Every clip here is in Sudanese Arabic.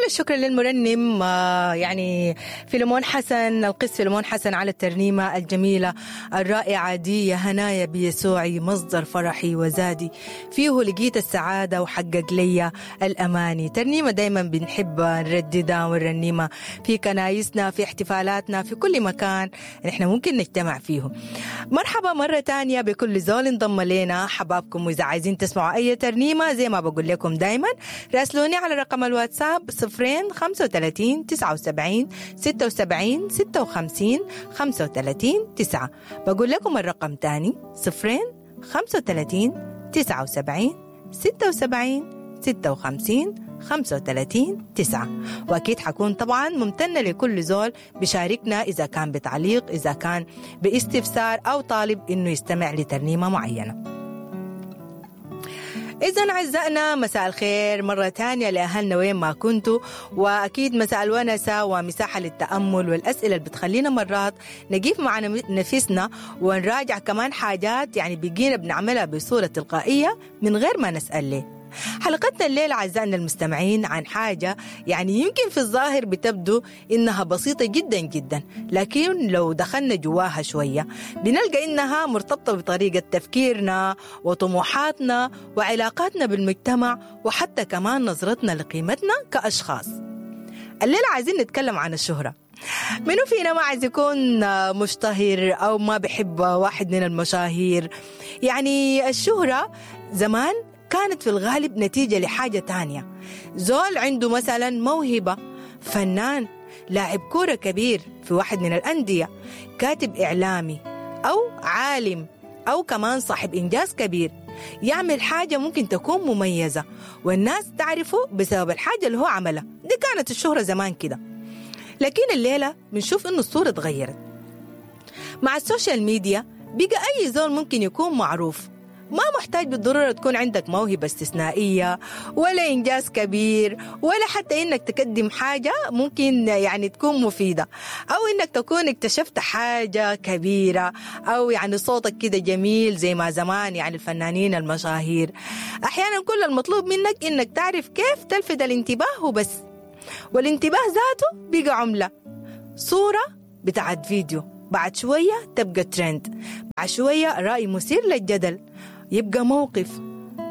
الشكر للمرنم يعني فيلمون حسن، القس فيلمون حسن، على الترنيمة الجميلة الرائعة دي. يا هنايا بيسوعي مصدر فرحي وزادي، فيه لقيت السعادة وحقق لي الأماني. ترنيمة دايما بنحب نرددها ونرنمها في كنايسنا، في احتفالاتنا، في كل مكان نحن ممكن نجتمع فيه. مرحبا مرة تانية بكل زول انضم لنا، حبابكم. وإذا عايزين تسمعوا أي ترنيمة زي ما بقول لكم دايما راسلوني على رقم الواتساب 0 35 79 76 56 35 9. بقول لكم الرقم تاني 0 35 79 76 56 35 9. وأكيد حكون طبعا ممتنة لكل زول بشاركنا، إذا كان بتعليق، إذا كان باستفسار، أو طالب إنه يستمع لترنيمة معينة. إذا أعزائنا مساء الخير مرة تانية لأهلنا وين ما كنتوا، وأكيد مساء الونسة ومساحة للتأمل والأسئلة اللي بتخلينا مرات نقيف مع نفسنا ونراجع كمان حاجات يعني بقينا بنعملها بصورة تلقائية من غير ما نسأل ليه. حلقتنا الليلة أعزائنا المستمعين عن حاجة يعني يمكن في الظاهر بتبدو إنها بسيطة جدا جدا، لكن لو دخلنا جواها شوية بنلقى إنها مرتبطة بطريقة تفكيرنا وطموحاتنا وعلاقاتنا بالمجتمع، وحتى كمان نظرتنا لقيمتنا كأشخاص. الليلة عايزين نتكلم عن الشهرة. منو فينا ما عايز يكون مشتهر أو ما بحب واحد من المشاهير؟ يعني الشهرة زمان كانت في الغالب نتيجة لحاجة تانية. زول عنده مثلا موهبة، فنان، لاعب كورة كبير في واحد من الأندية، كاتب إعلامي، أو عالم، أو كمان صاحب إنجاز كبير، يعمل حاجة ممكن تكون مميزة والناس تعرفه بسبب الحاجة اللي هو عملها. دي كانت الشهرة زمان كده. لكن الليلة بنشوف إنه الصورة اتغيرت مع ال social media. بقى أي زول ممكن يكون معروف، ما محتاج بالضرورة تكون عندك موهبة استثنائية ولا إنجاز كبير، ولا حتى إنك تقدم حاجة ممكن يعني تكون مفيدة، أو إنك تكون اكتشفت حاجة كبيرة، أو يعني صوتك كده جميل زي ما زمان يعني الفنانين المشاهير. أحيانا كل المطلوب منك إنك تعرف كيف تلفت الانتباه وبس، والانتباه ذاته بقى عملة. صورة بتاعت فيديو بعد شوية تبقى ترند، بعد شوية رأي مثير للجدل يبقى موقف،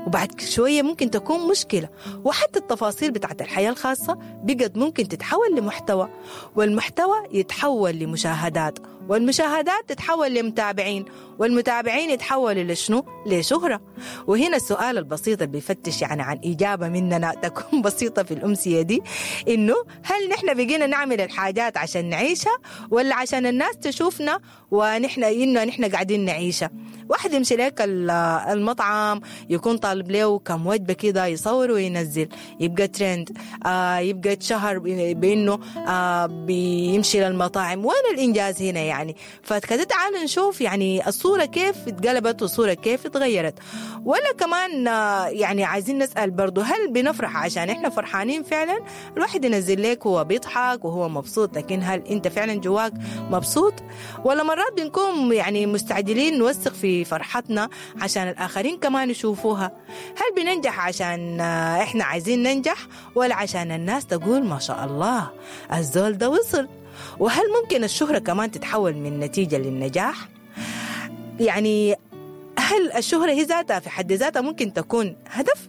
وبعد شوية ممكن تكون مشكلة. وحتى التفاصيل بتاعت الحياة الخاصة بقت ممكن تتحول لمحتوى، والمحتوى يتحول لمشاهدات، والمشاهدات تتحول لمتابعين، والمتابعين يتحولوا لشنو؟ لشهرة. وهنا السؤال البسيط اللي بيفتش يعني عن إجابة مننا تكون بسيطة في الأمسية دي، إنه هل نحن بقينا نعمل الحاجات عشان نعيشها، ولا عشان الناس تشوفنا ونحن إنه نحن قاعدين نعيشها؟ واحد يمشي لك المطعم يكون طالب له كم وجبة كده يصور وينزل، يبقى ترند، يبقى اتشهر بإنه بيمشي للمطاعم. وين الإنجاز هنا يعني؟ فكده تعالوا نشوف يعني الصورة كيف اتقلبت والصورة كيف اتغيرت. ولا كمان يعني عايزين نسأل برضو، هل بنفرح عشان احنا فرحانين فعلا؟ الواحد ينزل لك وهو بيضحك وهو مبسوط، لكن هل انت فعلا جواك مبسوط؟ ولا مرات بنكون يعني مستعجلين نوثق في فرحتنا عشان الآخرين كمان يشوفوها؟ هل بننجح عشان احنا عايزين ننجح، ولا عشان الناس تقول ما شاء الله الزول ده وصل؟ وهل ممكن الشهرة كمان تتحول من نتيجة للنجاح؟ يعني هل الشهرة هي ذاتها في حد ذاتها ممكن تكون هدف؟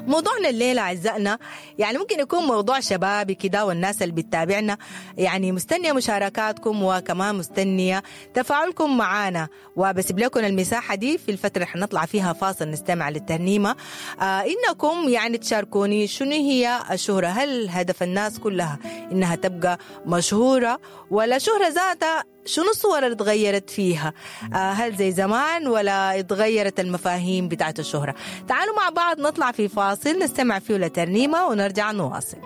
موضوعنا الليلة أعزائنا يعني ممكن يكون موضوع شبابي كده، والناس اللي بتتابعنا يعني مستنية مشاركاتكم وكمان مستنية تفاعلكم معانا، وبسيب لكم المساحة دي في الفترة اللي حنطلع فيها فاصل نستمع للترنيمة، إنكم يعني تشاركوني شنو هي الشهرة. هل هدف الناس كلها إنها تبقى مشهورة، ولا شهرة ذاتها شنو الصور اللي اتغيرت فيها؟ هل زي زمان ولا اتغيرت المفاهيم بتاعت الشهرة؟ تعالوا مع بعض نطلع في فاصل نستمع فيه لترنيمة ونرجع نواصل.